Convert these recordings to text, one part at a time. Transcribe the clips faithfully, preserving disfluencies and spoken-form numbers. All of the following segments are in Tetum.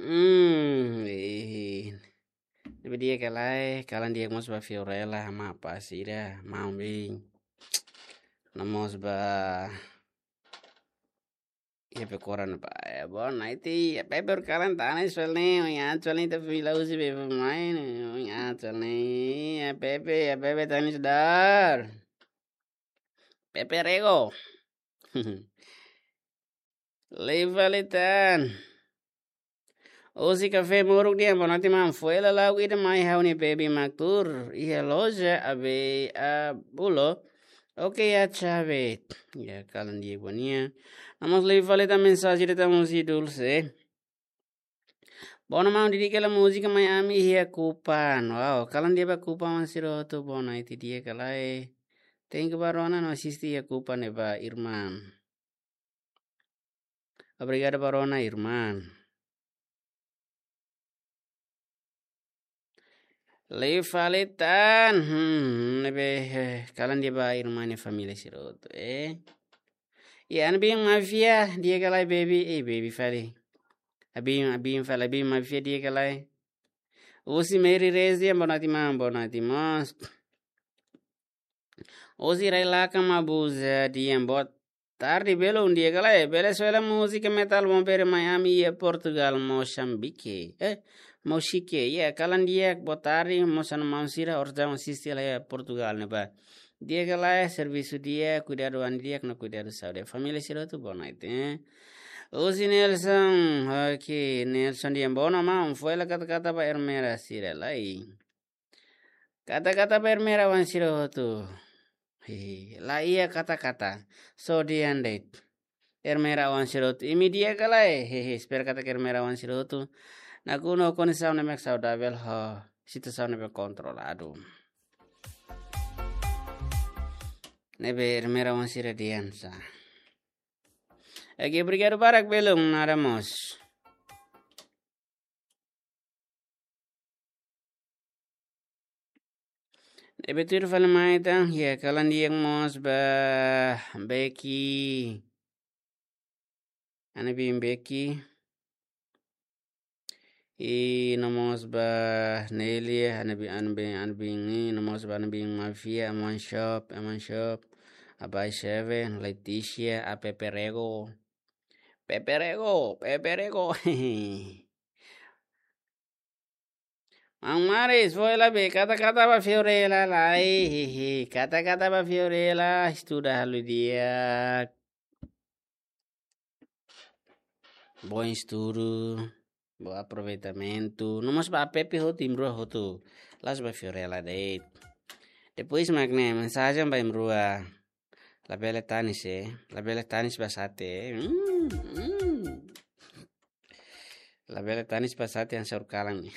Hmm, eh. Ne'ebé di'ak ka lae, kalan di'ak mós ba Fiorella, Mapa sira, maun-bin. No mós ba, iha Pekoran ba. Eh, boa noite, iha Pepe kalan tanis fali ne'e, oin atu fali ne'e, ita fila husi Pepe mai ne'e, oin atu fali ne'e, iha Pepe, iha Pepe tanis dar. Pepe Rego. Lei fali tan. Husi Kafé Muruk dehan, boa noite maun. Foin lala'ok ida mai ha'u-nia bebin mak tuur iha loja, abei a bulo. Oke, ya, chave. Ya, kalan di'ak ba nia. No mós lei fali tan mensajen ida tan husi Dulce. Boa noite maun, didik hela múzika Mai Ami iha Kupan. Wow, kalan di'ak ba Kupan maun sira hotu, boa noite di'ak ka lae. Thank you ba rona no asiste iha Kupan ne'ebá, irmán. Obrigadu ba rona, irmán. Lei fali tan, hmm, ne'ebé, eh, kalan di'ak ba irmán nia família sira hotu, eh. Iha Ana Bin Mafia, di'ak ka lae baby, eh, baby fali. Abin, Abin fali, Abin Mafia di'ak ka lae. Husi Mary Rezi, boa noite maun, boa noite mós. Husi Rai Lakan Mabuza dehan, boa tarde belun, di'ak ka lae. Bele soe hela múzika metal bombere Mai Ami iha Portugal, Moçambique. Eh, Moçambique. Ya, kalan di'ak, boa tarde, mós Ana maun sira, orsida asiste hela iha Portugal ne'ebá. Di'ak ka lae, servisu di'ak, kuidadu an di'ak no kuidadu saúde. Família sira hotu, boa noite, eh. Husi Nelson, oke, Nelson dehan, boa noite maun, foin hela kata-kata ba Ermera sira lai. Kata-kata ba Ermera oan sira hotu. Hehe, la iha kata-kata. Só dehan de'it. Ermera oan sira hotu. Imi di'ak ka lae. Hehe, espera katak Ermera oan sira hotu nakonu ho kondisaun ne'ebé saudavel ho situasaun ne'ebé kontroladu. Ne'ebé Ermera oan sira dehan sá. Oke, obrigadu barak belun, nada mós. Ne'ebé tuir fali mai tan, ya, kalan di'ak mós ba Becky. Ana bin Becky. I no mós ba Nelia, Ana bin, Ana bin, Ana bin, i no mós ba Ana bin Mafia, Aman Shop, Aman Shop, Abai Seven, Leticia, a Pepe Rego. Pepe Rego, Pepe Rego. Maun Maris, foin hela be, kata-kata ba Fiorella lai, hehe, kata-kata ba Fiorella, estuda halo di'ak. Bom estudu, bom aproveitamentu. No mós ba Pepe hotu, imi rua hotu. La'ós ba Fiorella de'it. Depois mak ne'e, mensajen ba imi rua. Labele tanis, eh. Labele tanis ba Sate, eh. Hmm, hmm. Labele tanis ba Sate yang saur kalang ne'e.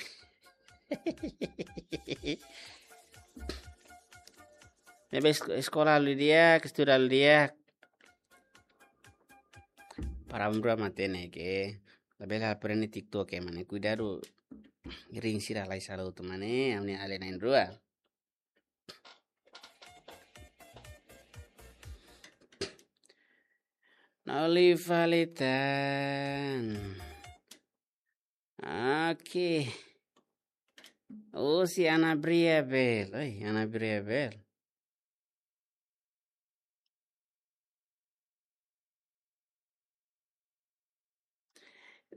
Ne'ebé es-, eskola halo di'ak, estuda halo di'ak. Para imi rua matenek, eh. Labele aprende TikTok, eh, mane. Kuidadu, ring sira lai sala hotu, mane. Ami alin na'in-rua. Noli fali tan. Oke. Husi Ana Bria bel. Oi, Ana Bria bel.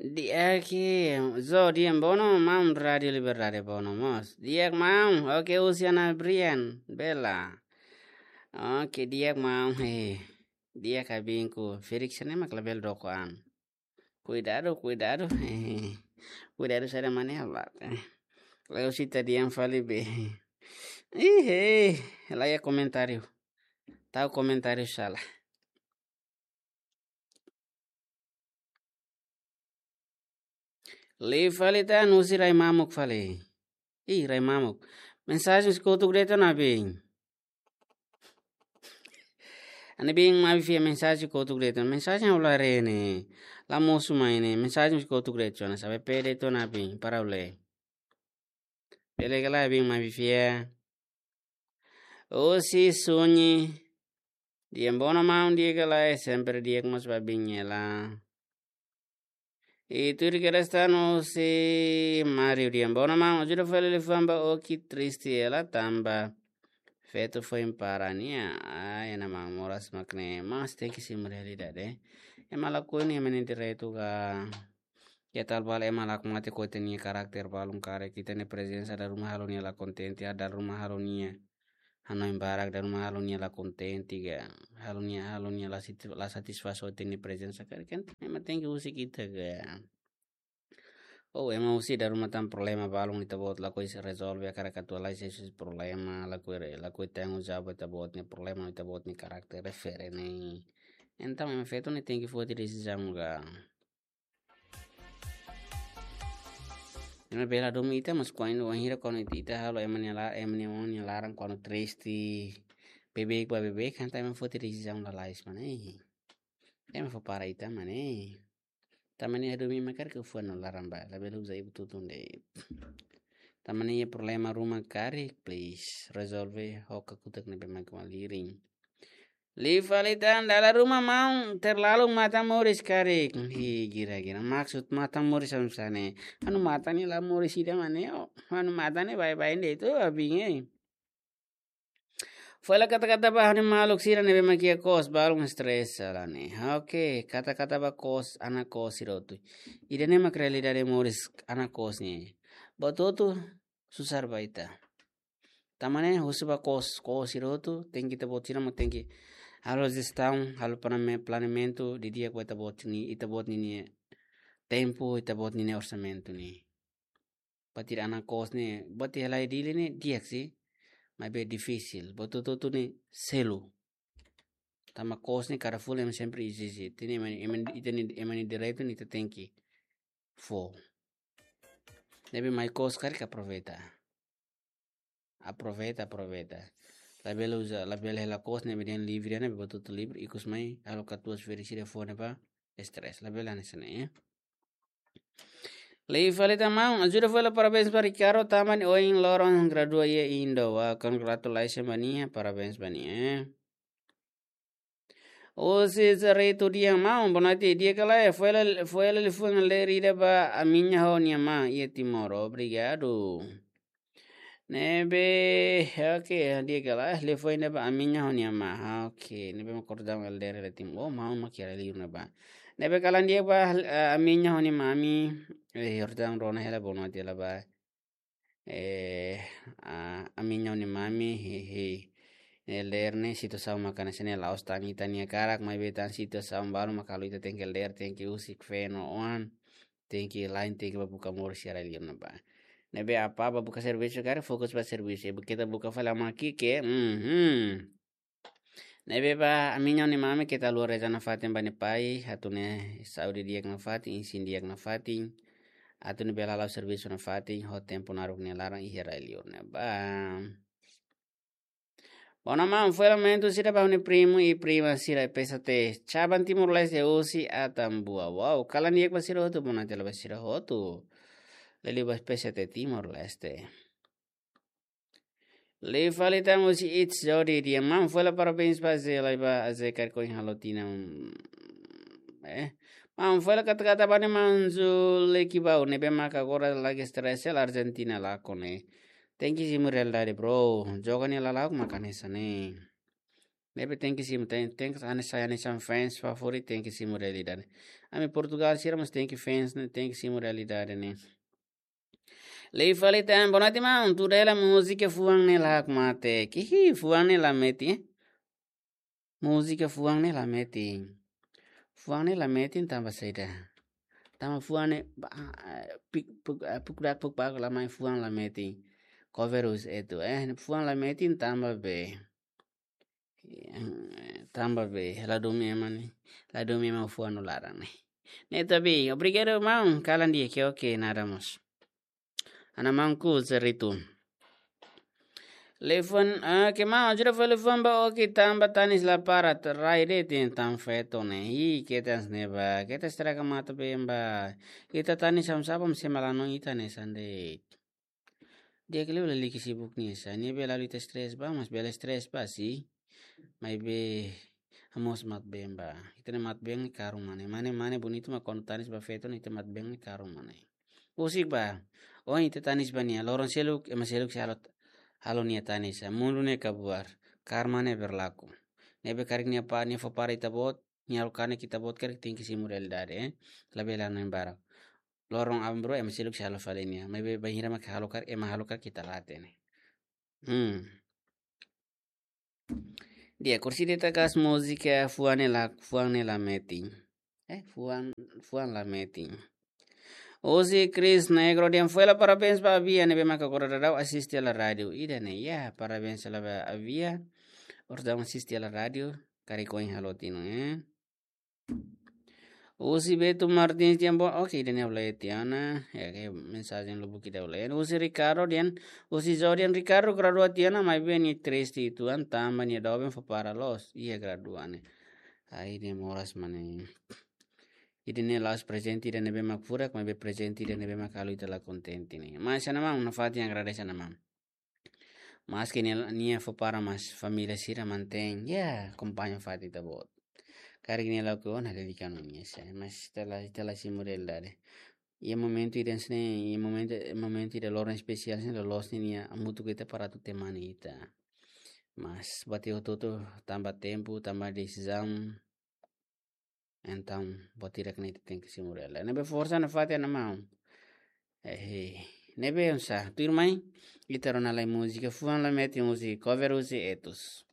Di'ak, zo di'ak, boa noite maun, Rádio Liberdade boa noite mós. Di'ak maun, oke, husi Ana Brian, bela. Oke, di'ak maun, he. Di'ak abinku, Felix ne'e mak labele doko an. Kuidadu, kuidadu, he. Kuidadu saida mane abak. Lae husi ita dehan fali be. Ih, he, la iha komentáriu. Tau komentáriu sala. Liu fali tan husi Rai Mamuk fali. Ih, Rai Mamuk. Mensajen husi kotuk de'it ona bin. Ana bin Mafia mensajen husi kotuk de'it ona. Mensajen ha'u la haree ne'e. La mosu mai ne'e. Mensajen husi kotuk de'it ona. Sabe pe de'it ona bin. Para ulai. Bele ka lae bin Mafia. Husi Sunyi. Di'ak bono maun di'ak ka lae, sempre di'ak mós ba bin hela. I tuir kedas tan husi Mario Diambo, ona maun, ajuda fali liafuan ba Oki triste hela tanba feto foin para nia. Ai, ona maun, moras mak ne'e, mas tenke simu realidade. Ema lakohi nia, ema nia direitu ka. Ke tal bal ema la mate ko ita-nia karakter balun karik, ita-nia prezensa dala ruma halo nia la kontente, dala ruma halo nia hanoin barak, dala ruma halo nia la kontente ka, halo nia, halo nia la siti-, la satisfás ho ita-nia prezensa karik, kan ema tenke husik ita ka. Ou ema husik dala ruma tan problema balun, ita-boot lakohi rezolve, hakarak atu halai husi problema, lakohi re-, lakohi tanggung jawab ita-boot nia problema, ita-boot nia karakter refere ne'e. Entaun ema feto ne'e tenke foti desizaun ka. Ema bele hadomi ita, mas kuandu wainhira kuandu ita, ita halo ema nia la-, ema nia oan nia laran kuandu triste, beibeik ba beibeik, kan ita ema foti desizaun lalais mak ne'e. Ema fó para ita mak ne'e. Tanba ne'e hadomi ema karik fuan no laran ba, labele uza ibu tutun de'it. Tanba ne'e iha problema ruma karik, please, rezolve ho kakutak ne'ebé mak malirin. Liu fali tan, dala ruma maun terlalu matan moris karik. Hi, gira-gira. Maksud matan moris oinsá ne'e? Anu matan ne'e la moris ida mak ne'e, o. Anu matan ne'e baibain de'it, o, abin, eh. Fó hela kata-kata ba ha'u-nia maluk sira ne'ebé mak iha kos, balun stress hela ne'e. Oke, kata-kata ba kos, anak kos sira hotu. Ida-ne'e mak realidade moris anak kos ne'e. Buat hotu susar ba ita. Tanba ne'e husu ba kos, kos sira hotu, tenke ita-boot sira mós tenke halo jestaun, halo planame-, planeamentu didi'ak ba ita-boot nia, ita-boot ninia tempu, ita-boot ninia orsamentu ne'e. Buat ida anak kos ne'e, buat ida halai Dili ne'e di'ak sih, maibé difisil. Buat hotu-hotu ne'e selu. Tanba kos ne'e kada fulan ema sempre ezije. Ita-nia ema, ema, ita-nia ema nia direitu ne'e ita tenke fó. Ne'ebé mai kos karik aproveita. Aproveita, aproveita. Labele uza, labele hela kos ne'ebé dehan livre ne'e, buat hotu livre, ikus mai halo katuas férias sira fó ne'e ba stress. Labele hanesan ne'e, ya. Liu fali tan maun, ajuda fó hela parabéns ba Ricardo, tanba nia ohin loron gradua iha Indo. Wah, congratulations ba nia, parabéns ba nia, eh. Husi Zerito Diambo, boa noite, di'ak ka lae, fó hela, fó hela liafuan ler ida ba ami-nia ho nia ma iha Timor, obrigadu. Ne'ebé, oke, di'ak ka lae, liafuan ida ba ami-nia ho nia ma, oke, ne'ebé mak kordang elder hela Timor, oh, maun mak iha rai-liur ne'ebá. Ne'ebé kalan di'ak ba, eh, ami-nia ho nia mami, eh, Jordão rona hela boa noite hela ba. Eh, ah, ami-nia ho nia mami, hi, hi. Elder ne'e situasaun mak hanesan ne'e la'ós tan ita-nia karak, maibé tan situasaun balu mak halo ita tenke elder, tenke husik feen no oan, tenke lain, tenke ba buka moris iha rai-liur ne'ebá. Ne'ebé apá ba buka servisu karik, fokus ba servisu. Ita buka fali ama ki'ik, mhm. Ne'ebé ba ami-nia ho nia mami keta haluha reza nafatin ba nia pai, atu nia saúde di'ak nafatin, isin di'ak nafatin, atu nia bele hala'o servisu nafatin, ho tempu naruk nia laran iha rai-liur ne'ebá. Boa noite maun, fó hela momentu sira ba ha'u-nia primu i prima sira P S T, Chaban Timor-Leste husi Atambua. Wow, kalan di'ak ba sira hotu, boa noite hela ba sira hotu. Liuliu ba P S T Timor-Leste. Liu fali tan husi It's Jody Diambo, fó hela parabéns ba Zé, lai ba Zé karik ohin halo tinan, mm, eh. Maun, fó hela kata-kata ba nia maun Zulekibau, ne'ebé mak agora lagi stress hela Argentina lakon ne'e. Tenke simu realidade, bro. Joga nia lala'ok mak hanesan ne'e. Ne'ebé tenke simu, ten-, tenke hanesan, hanesan fans favorit, tenke simu realidade. Ami Portugal sira mós tenke fans ne'e, tenke simu realidade ne'e. Liu fali tan, boa noite maun, tuda hela múzika fuan ne'e la hakmatek. Kihi, fuan ne'e la metin, eh? Múzika fuan ne'e la metin. Fuan ne'e la metin tanba saida? Tanba fuan ne'e ba, ah, pik, puk, ah, puk dak puk pak la mai, fuan la metin. Cover husi etu, eh, fuan la metin tanba be. Eh, tanba be, la hadomi ema ne'e, la hadomi ema fuan no laran ne'e. Ne'e tapi, obrigadu maun, kalan di'ak, oke, nada mós. Ana maun ku Zerito. Liafuan, ah, ke maun, ajuda fó liafuan ba Oki tanba tanis la para, rai de'it tan feto ne'e. Hi, keta hanesan ne'e ba, keta estraga matan-been ba. Ita tanis hanesan sá ba, mesti malanon ita hanesan de'it. Di'ak liu lalika sibuk nia sá, nia bele halo ita stress ba, mas bele stress ba sih. Maibé Hamoos matabeen ba. Ita-nia matabeen ne'e karun mane. Mane, mane bonitu mak kuandu tanis ba feto ne'e ita matabeen ne'e karun mane. Husik ba. Ohin ita tanis ba nia. Loron seluk, ema seluk sei halo, halo nia tanis. Mundu ne'e kabuar. Karma ne'e berlaku. Ne'ebé karik nia pa, nia fó para ita-boot, nia halo kanek ita-boot karik tenke simu realidade, eh. Labele hanoin barak. Loron aban-bainrua ema seluk sei halo fali nia. Maibé bainhira mak halo karik, ema halo karik ita la hatene. Hmm. Di'ak, orsida ita hakat múzika Fuan ne'e la, Fuan ne'e la metin. Eh, Fuan, Fuan la metin. Husi Chris Negro dehan: Fuela, parabéns ba Avia ne'ebé maka agora daudaun asiste hela rádiu. Ida-ne'e, ya, parabéns hela ba Avia. Orsida asiste hela rádiu, karik ohin halo tiha ona, eh. Husi Beto Martins dehan bo-, oke, ida-ne'e ha'u lee tiha ona, ya, ke mensajen lubuk ida ha'u lee. Husi Ricardo dehan, husi Zo dehan Ricardo gradua tiha ona, maibé nia triste uitoan tanba nia doben fó para loos. Iya, gradua ne'e. Ai, nia moras mane. Ida-ne'e la'ós prezente ida ne'ebé mak furak, maibé prezente ida ne'ebé mak halo ita la kontente ne'e. Mas hanesan maun, nafatin agradese hanesan maun. Maske nia, nia fó para, mas família sira mantein, ya, akompaña fatin ita-boot. Karik nia lakohi ona, dedika ona nia, sa, mas ita la, ita la simu realidade. Iha momentu ida hanesan ne'e, iha momentu, momentu ida loron espesiál hanesan ne'e, loloos ne'e nia hamutuk ho ita para atu temani ita. Mas buat hotu-hotu tanba tempu, tanba desizaun. Entaun, buat hirak ne'e ita tenke simu realidade. Ne'ebé forsa nafatin hanesan maun. Eh, ne'ebé oinsá, tuirmai, ita rona lai múzika Fuan la metin husi, cover husi Etus.